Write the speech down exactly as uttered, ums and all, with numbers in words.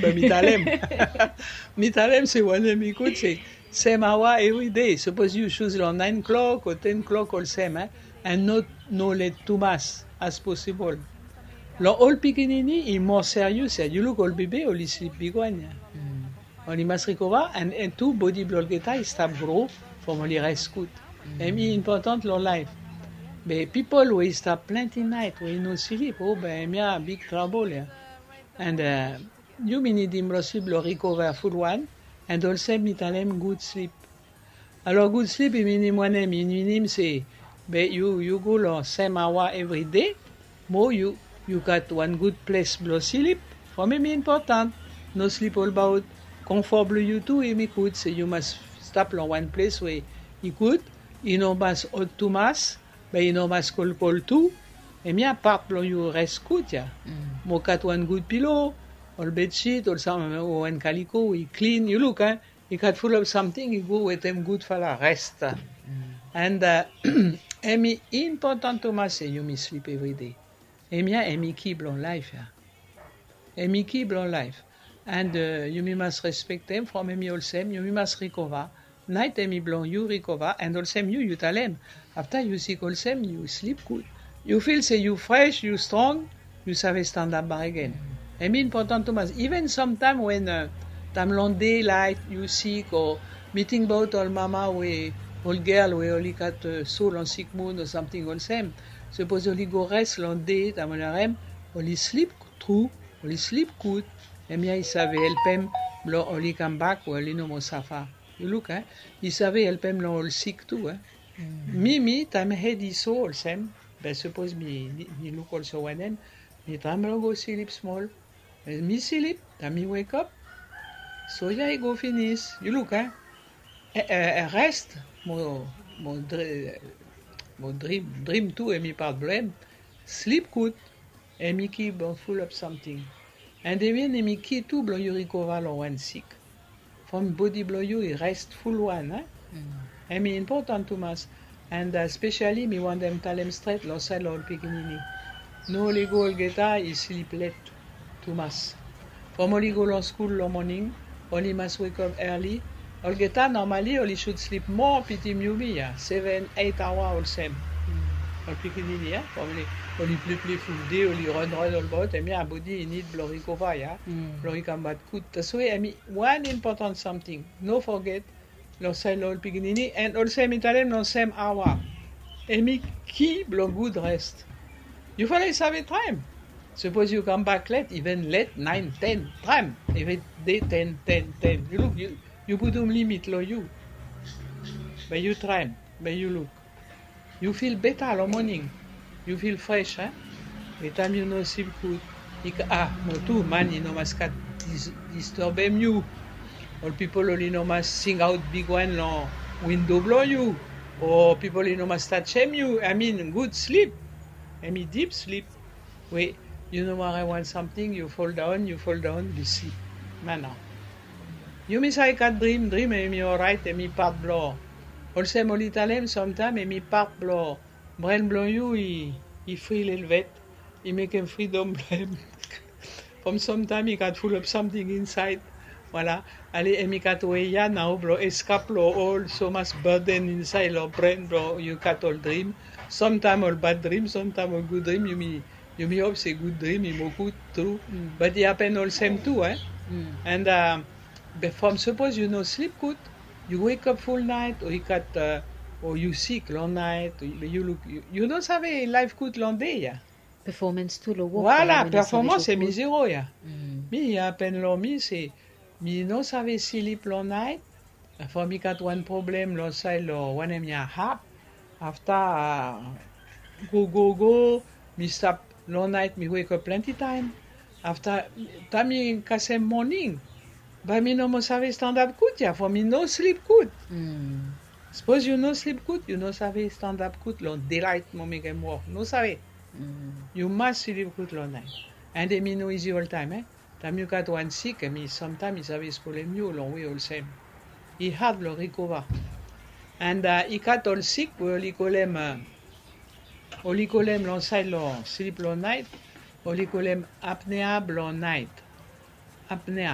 Be mi talem. Mi talem se wanem i gud se sem awa evri dei. Sapos yu suz long nine klok o ten klok olsem, eh? An no, no let tumas as posibol. Long ol pikinini i moa serious ya. Yu luk ol bebe oli slip bigwan ya. Oli mas rikova, an, an tu bodi blong olgeta i stap gro from oli res gud. Hemi impotan long laef. Be pipol we i stap plante nait we i no slip, o be hemia big trabol ya. An, eh, yumi nidim long slip blong rikova fulwan, an olsem mi talem gud slip. Alor gud slip i minim wanem? I minim se be yu, yu go long sem awa evri dei, mo yu, yu gat wan gud ples blong slip. From hemi impotan. No slip olbaot. Konfor blong yu tu hemi gud, se yu mas stap long wan ples we i gud, i no mas ot tumas, be i no mas kolkol tu. Hemia pat blong yu res gud ya. Mo gat wan gud pilo, ol bedsit, ol sam, o wan kaliko we i klin, yu luk, eh? I gat fulap samting i go wetem gudfala res. An, eh, hemi impotan tumas se yumi slip evri dei. Hemia hemi ki blong laef ya. Hemi ki blong laef. An, eh, yumi mas respektem from hemi olsem, yumi mas rikova. Nait hemi blong yu rikova, an olsem yu, yu talem. Afta yu sik olsem, yu slip gud. Yu fil se yu fres, yu strong, yu save stanap bakegen. Hemi impotan tumas. Iven samtaem wen, eh, taem long dei laet yu sik, o mi tingbaot ol mama we, ol gel we oli gat, eh, so long sikmun o samting olsem. Sapos oli go res long dei, taem oli harem, oli slip tru, oli slip gud, hemia i save helpem blong oli kambak we oli no moa safa. Yu luk, eh? I save helpem long ol sik tu, eh? Mi, mi, taem hed i so olsem, be sapos mi, mi, mi luk olsem wanem, mi traem blong go slip smol. Mi slip, taem mi wekap, soja i go finis. Yu luk, eh? Eh, eh, eh, res, mo, mo dri-, mo drim, drim tu, hemi pat blong hem. Slip gud, hemi ki blong fulap samting. An hemia hemi ki tu blong yu rikova long wan sik. From bodi blong yu i res fulwan, eh? Hemi impotan tumas. An, eh, spesiali mi wantem talem stret long saed long ol pikinini. No lego olgeta i slip let tumas. From oli go long skul long moning, oli mas wekap early. Olgeta normali oli should slip moa pitim yumi ya, seven, eight awa olsem. Ol pikinini ya, from oli, oli plipliful dei, oli ranran olbaot, hemia bodi i nid blong rikova ya, blong i kambak gud. Taswe hemi wan impotan samting. No foget, long saed long ol pikinini, an olsem mi talem long sem awa. Hemi ki blong gud res. Yufala i save traem. Sapos yu kambak let, iven let, naen, ten, traem. Evri dei ten, ten, ten. Yu luk, yu, yu putum limit long yu. Be yu traem, be yu luk. Yu fil beta long moning. Yu fil fres, eh? Be taem yu no slip gud, i ka-, a, mo tu, man i no mas kat dis-, disturbem yu. Ol pipol oli no mas singaot bigwan long windo blong yu. O pipol i no mas tajem yu. I mean, gud slip. Hemi dip slip. We yu no ware wan samting, yu foldaon, yu foldaon, yu slip. Mana. Yumi save gat drim, drim hemi oraet, hemi pat blong. Olsem oli talem, samtaem hemi pat blong bren blong yu i, i fri lelvet. I mekem fridom blong hem. From samtaem i gat fulap samting insaed. Voilà. Ale, hemi gat wei ya nao blong eskap long ol so mas burden insaed long bren blong yu gat ol drim. Samtaem ol bad drim, samtaem ol gud drim, yumi Yumi hop se gud drim i moa gud tu. Bat i hapen olsem tu, eh? An, be from sapos yu no slip gud, yu wekap ful naet, o i gat, o yu sik long naet, o yu luk, yu, yu no save laef gud long dei ya. Performance tu long wok. Voilà, performance hemi zero ya. Mi i hapen long mi se mi no save slip long naet. From mi gat wan problem long saed long wanem ya hap. Afta, go, go, go, mi stap long naet, mi wekap plante taem. Afta, taem mi kasem moning, bae mi no moa save stanap gud ya, from mi no slip gud. Sapos yu no slip gud, yu no save stanap gud long delaet mo mekem wok. No save. Yu mas slip gud long naet. An hemi no izi oltaem, eh? Taem yu gat wan sik, hemi samtaem i save spolem yu long wei olsem. I had long rikova. An, i gat ol sik we oli kolem, oli kolem long saed long slip long naet, oli kolem apnea blong naet. Abnea.